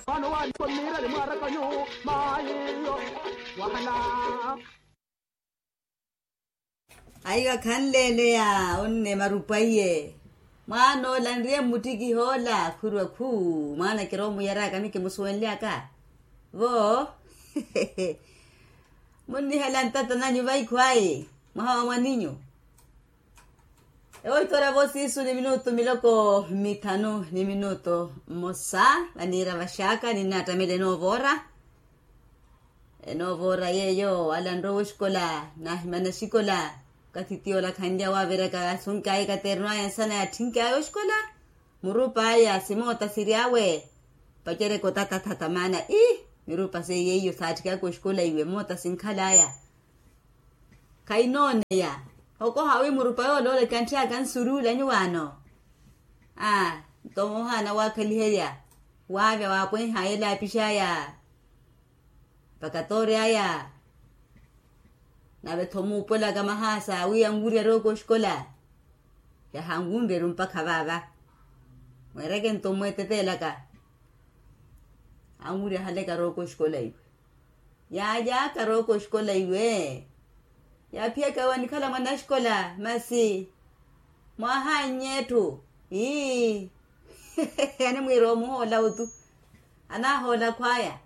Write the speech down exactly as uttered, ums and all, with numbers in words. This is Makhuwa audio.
Mano wani konirali mwarakanyu mayiyo. Wahala. Aiwa khanleeleya onne marupwaiye. Mwaan'ola nriye mmuttikiha ola khurwa khuu mwaana kiroomuyaraka mikimusuwenlyaka. Vo. Munnihela ntata nanyu vaikhwayi mwaha wa mwaninyu. Ewo itora vo siisu ni minutu miloko mithanu ni minutu mmosa vaniira vaxaaka ninnaattamela enoovoora. Enoovoora yeeyo alanrowa oxikola naahimana oxikola. Okathi tiyo olakhanlya waaviraka asunk'aya ekaterno aya nsana yaathink'aya oxikola. Murup'aya simoota siri awe. Pacereke otatatata maana ii mirupa seiye iyo saatthikaka oxikola iwe moota sinkhal'aya. Khainooneya. Okoha wi murupa yooloola ekantthi aka nsuruula nyuwaano. Aa nto moohaana waakhaliherya waavya waapwenh'aya elaapix'aya. Mpaka toory'aya. Nave-tho muupwelaka mahaasa wi anwirya rooko oxikola. Yahanwunryeru mpakha vaava. Mweereke nto mmweeteteelaka. Anwirya haleka rooko oxikola iwe. Yaaly'aka rooko oxikola iwe. Yaaphiyaka iwe anikhala mwanaxikola masi. Mwaahannye etthu ii. Animwiira omuhoola otu. Anahoola khwaya.